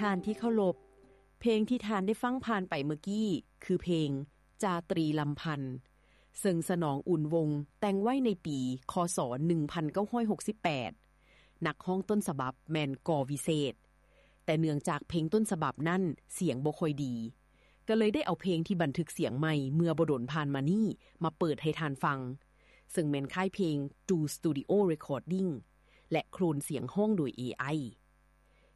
ທ່ານທີ່ເຄົາລົບ, ເພງທີ່ທ່ານໄດ້ຟັງຜ່ານໄປເມື່ອກີ້ ຄືເພງ ຈາຕຣີລຳພັນ ເຊິ່ງສະໜອງ ອຸ່ນວົງ ແຕ່ງໄວ້ໃນປີ ຄ.ສ. ໜຶ່ງພັນເກົ້າຮ້ອຍຫົກສິບແປດ. ນັກຮ້ອງຕົ້ນສະບັບແມ່ນ ກໍ ວິເສດ, ແຕ່ເນື່ອງຈາກເພງຕົ້ນສະບັບນັ້ນສຽງບໍ່ຄ່ອຍດີ, ກໍເລີຍໄດ້ເອົາເພງທີ່ບັນທຶກສຽງໃໝ່ເມື່ອບໍ່ດົນຜ່ານມານີ້ມາເປີດໃຫ້ທ່ານຟັງ, ເຊິ່ງແມ່ນຄ້າຍເພງ Two Studio Recording ແລະ ໂຄລນສຽງຮ້ອງໂດຍ ເອໄອ.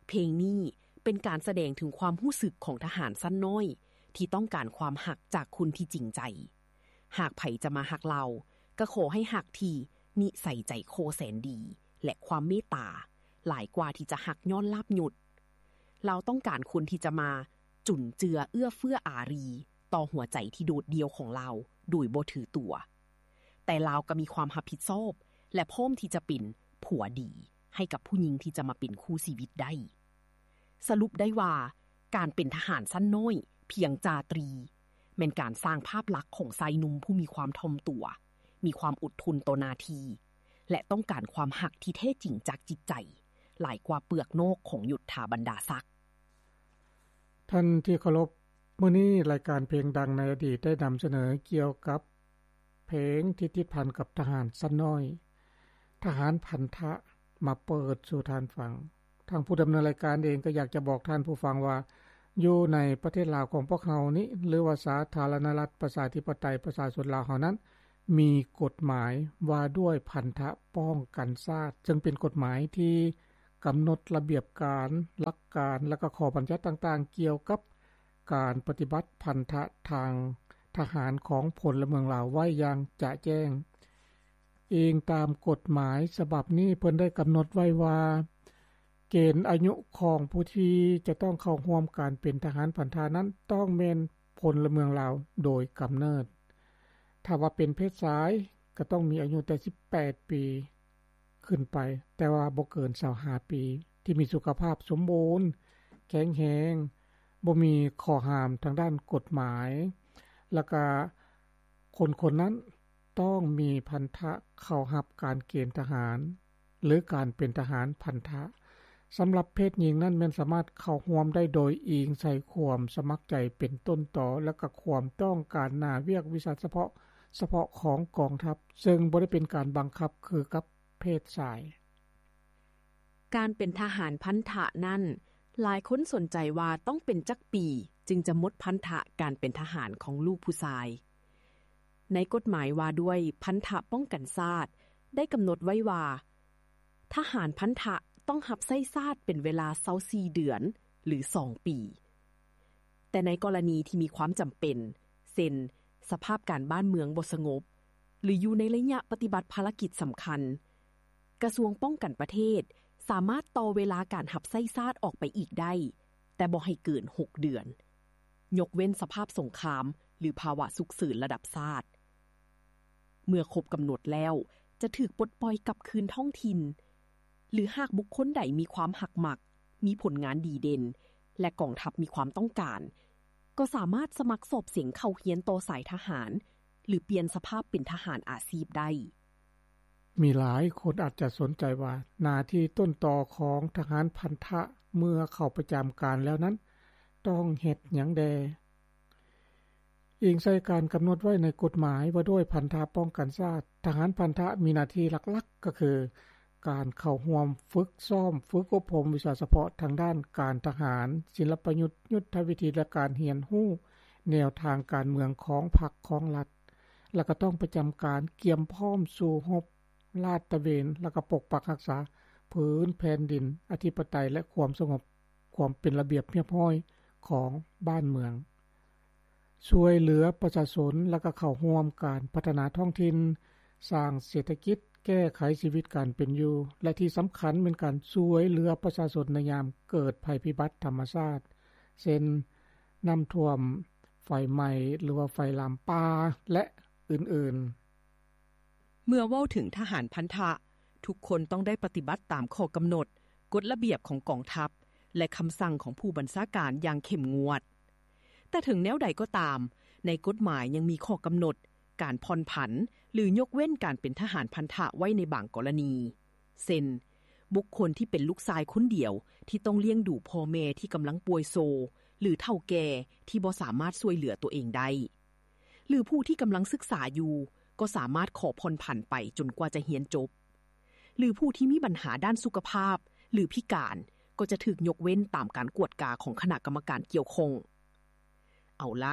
ເພງນີ້ເປັນການສະແດງເຖິງຄວາມຮູ້ສຶກຂອງທະຫານຊັ້ນນ້ອຍ ທີ່ຕ້ອງການຄວາມຮັກຈາກຄົນທີ່ຈິງໃຈ. ຫາກໃຜຈະມາຮັກລາວ, ກໍຂໍໃຫ້ຮັກທີ່ນິໄສໃຈຄໍແສນດີ ແລະ ຄວາມເມດຕາ, ຫຼາຍກວ່າທີ່ຈະຮັກຍ້ອນລາບຍົດ. ລາວຕ້ອງການຄົນທີ່ຈະມາຈຸນເຈືອເອື້ອເຟື້ອອາຣີຕໍ່ຫົວໃຈທີ່ໂດດດ່ຽວຂອງລາວໂດຍບໍ່ຖືຕົວ. ແຕ່ລາວກໍມີຄວາມຮັບຜິດຊອບ ແລະ ພ້ອມທີ່ຈະເປັນຜົວດີໃຫ້ກັບຜູ້ຍິງທີ່ຈະມາເປັນຄູ່ຊີວິດໄດ້. ສະຫຼຸບໄດ້ວ່າ ການເປັນທະຫານຊັ້ນນ້ອຍພຽງຈາຕຣີ ແມ່ນການສ້າງພາບລັກຂອງຊາຍໜຸ່ມຜູ້ມີຄວາມຖ່ອມຕົວ, ມີຄວາມອົດທົນຕໍ່ໜ້າທີ່ ແລະ ຕ້ອງການຄວາມຮັກທີ່ແທ້ຈິງຈາກຈິດໃຈ ຫຼາຍກວ່າເປືອກນອກຂອງຍົດຖາບັນດາສັກ. ທ່ານທີ່ເຄົາລົບ, ມື້ນີ້ລາຍການເພງດັງໃນອະດີດໄດ້ນຳສະເໜີກ່ຽວກັບເພງທີ່ຕິດພັນກັບທະຫານຊັ້ນນ້ອຍ, ທະຫານພັນທະ ມາເປີດສູ່ທ່ານຟັງ. ທາງຜູ້ດຳເນີນລາຍການເອງກໍຢາກຈະບອກທ່ານຜູ້ຟັງວ່າ ຢູ່ໃນປະເທດລາວຂອງພວກເຮົານີ້ ຫຼືວ່າສາທາລະນະລັດປະຊາທິປະໄຕປະຊາຊົນລາວເຮົານັ້ນ ມີກົດໝາຍວ່າດ້ວຍພັນທະປ້ອງກັນຊາດ, ເຊິ່ງເປັນກົດໝາຍທີ່ກຳນົດລະບຽບການ, ຫຼັກການ ແລະ ກໍຂໍ້ບັນຍັດຕ່າງໆ ກ່ຽວກັບການປະຕິບັດພັນທະທາງທະຫານຂອງພົນລະເມືອງລາວໄວ້ຢ່າງຈະແຈ້ງ. ອີງຕາມກົດໝາຍສະບັບນີ້, ເພິ່ນໄດ້ກຳນົດໄວ້ວ່າ ເກນອາຍຸຂອງຜູ້ທີ່ຈະຕ້ອງເຂົ້າຮ່ວມການເປັນທະຫານພັນທະນັ້ນ ຕ້ອງແມ່ນພົນລະເມືອງລາວໂດຍກຳເນີດ. ຖ້າວ່າເປັນເພດຊາຍ ກໍຕ້ອງມີອາຍຸແຕ່ສິບແປດປີຂຶ້ນໄປ, ແຕ່ວ່າບໍ່ເກີນຊາວຫ້າປີ, ທີ່ມີສຸຂະພາບສົມບູນ, ແຂງແຮງ, ບໍ່ມີຂໍ້ຫ້າມທາງດ້ານກົດໝາຍ, ແລ້ວກະຄົນໆນັ້ນ ຕ້ອງມີພັນທະເຂົ້າຮັບການເກນທະຫານ ຫຼື ການເປັນທະຫານພັນທະ. ສຳລັບເພດຍິງນັ້ນແມ່ນສາມາດເຂົ້າຮ່ວມໄດ້ໂດຍອີງໃສ່ຄວາມສະໝັກໃຈເປັນຕົ້ນຕໍ ແລະ ກະຄວາມຕ້ອງການໜ້າວຽກວິຊາສະເພາະ, ສະເພາະຂອງກອງທັບ, ເຊິ່ງບໍ່ໄດ້ເປັນການບັງຄັບຄືກັບເພດຊາຍ. ການເປັນທະຫານພັນທະນັ້ນ, ຫຼາຍຄົນສົນໃຈວ່າຕ້ອງເປັນຈັກປີຈຶ່ງຈະໝົດພັນທະການເປັນທະຫານຂອງລູກຜູ້ຊາຍ. ໃນກົດໝາຍວ່າດ້ວຍພັນທະປ້ອງກັນຊາດ ໄດ້ກຳນົດໄວ້ວ່າ ທະຫານພັນທະຕ້ອງຮັບໃຊ້ຊາດເປັນເວລາຊາວສີ່ເດືອນ ຫຼື ສອງປີ. ແຕ່ໃນກໍລະນີທີ່ມີຄວາມຈຳເປັນ ເຊັ່ນ ສະພາບການບ້ານເມືອງບໍ່ສະຫງົບ ຫຼື ຢູ່ໃນໄລຍະປະຕິບັດພາລະກິດສຳຄັນ, ກະຊວງປ້ອງກັນປະເທດສາມາດຕໍ່ເວລາການຮັບໃຊ້ຊາດອອກໄປອີກໄດ້, ແຕ່ບໍ່ໃຫ້ເກີນຫົກເດືອນ, ຍົກເວັ້ນສະພາບສົງຄາມ ຫຼື ພາວະສຸກເສີນລະດັບຊາດ. ເມື່ອຄົບກຳນົດແລ້ວ ຈະຖືກປົດປ່ອຍກັບຄືນທ້ອງຖິ່ນ, ຫຼື ຫາກບຸກຄົນໃດມີຄວາມຮັກມັກ, ມີຜົນງານດີເດັ່ນ ແລະ ກອງທັບມີຄວາມຕ້ອງການ, ກໍສາມາດສະໝັກສອບເສັງເຂົ້າຮຽນຕໍ່ສາຍທະຫານ ຫຼື ປ່ຽນສະພາບເປັນທະຫານອາຊີບໄດ້. ມີຫຼາຍຄົນອາດຈະສົນໃຈວ່າ ໜ້າທີ່ຕົ້ນຕໍຂອງທະຫານພັນທະເມື່ອເຂົ້າປະຈຳການແລ້ວນັ້ນ ຕ້ອງເຮັດຫຍັງແດ່? ອີງໃສ່ການກຳນົດໄວ້ໃນກົດໝາຍວ່າດ້ວຍພັນທະປ້ອງກັນຊາດ, ທະຫານພັນທະມີໜ້າທີ່ຫຼັກໆ ກໍຄື ການເຂົ້າຮ່ວມຝຶກຊ້ອມ, ຝຶກອົບຮົມວິຊາສະເພາະທາງດ້ານການທະຫານ, ສິນລະປະຍຸດ, ຍຸດທະວິທີ ແລະ ການຮຽນຮູ້ແນວທາງການເມືອງຂອງພັກຂອງລັດ, ແລະ ກໍຕ້ອງປະຈຳການກຽມພ້ອມສູ້ຮົບ, ລາດຕະເວນ ແລະ ກໍປົກປັກຮັກສາພື້ນແຜ່ນດິນ, ອະທິປະໄຕ ແລະ ຄວາມສະຫງົບ, ຄວາມເປັນລະບຽບຮຽບຮ້ອຍຂອງບ້ານເມືອງ. ຊ່ວຍເຫຼືອປະຊາຊົນ ແລະ ກໍເຂົ້າຮ່ວມການພັດທະນາທ້ອງຖິ່ນ, ສ້າງເສດຖະກິດ, ແກ້ໄຂຊີວິດການເປັນຢູ່ ແລະ ທີ່ສຳຄັນແມ່ນການຊ່ວຍເຫຼືອປະຊາຊົນໃນຍາມເກີດໄພພິບັດທຳມະຊາດ ເຊັ່ນ ນ້ຳຖ້ວມ, ໄຟໄໝ້ ຫຼືວ່າໄຟລາມປ່າ ແລະ ອື່ນໆ. ເມື່ອເວົ້າເຖິງທະຫານພັນທະ, ທຸກຄົນຕ້ອງໄດ້ປະຕິບັດຕາມຂໍ້ກຳນົດ, ກົດລະບຽບຂອງກອງທັບ ແລະ ຄຳສັ່ງຂອງຜູ້ບັນຊາການຢ່າງເຂັ້ມງວດ. ແຕ່ເຖິງແນວໃດກໍຕາມ, ໃນກົດໝາຍຍັງມີຂໍ້ກຳນົດການຜ່ອນຜັນ ຫຼື ຍົກເວັ້ນການເປັນທະຫານພັນທະໄວ້ໃນບາງກໍລະນີ, ເຊັ່ນ, ບຸກຄົນທີ່ເປັນລູກຊາຍຄົນດຽວ ທີ່ຕ້ອງລ້ຽງດູພໍ່ແມ່ທີ່ກຳລັງປ່ວຍໂຊ ຫຼື ເຖົ້າແກ່ທີ່ບໍ່ສາມາດຊ່ວຍເຫຼືອຕົວເອງໄດ້ ຫຼື ຜູ້ທີ່ກຳລັງສຶກສາຢູ່ ກໍສາມາດຂໍຜ່ອນຜັນໄປຈົນກວ່າຈະຮຽນຈົບ ຫຼື ຜູ້ທີ່ມີບັນຫາດ້ານສຸຂະພາບ ຫຼື ພິການ ກໍຈະຖືກຍົກເວັ້ນຕາມການກວດກາຂອງຄະນະກຳມະການກ່ຽວຂ້ອງ. ເອົາລະ,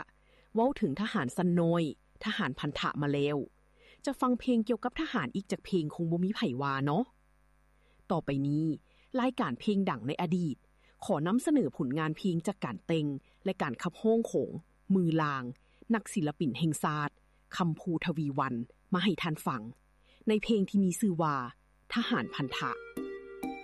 ເວົ້າເຖິງທະຫານຊັ້ນນ້ອຍ, ທະຫານພັນທະມາແລ້ວ, ຈະຟັງເພງກ່ຽວກັບທະຫານອີກຈັກເພງຄົງບໍ່ມີໃຜວ່າເນາະ. ຕໍ່ໄປນີ້, ລາຍການເພງດັງໃນອະດີດ ຂໍນຳສະເໜີຜົນງານເພງຈາກການແຕ່ງ ແລະ ການຂັບຮ້ອງຂອງ ມືລາງ, ນັກສິລະປິນແຫ່ງຊາດ ຄຳພູ ທະວີວັນ ມາໃຫ້ທ່ານຟັງ ໃນເພງທີ່ມີຊື່ວ່າ ທະຫານພັນທະ.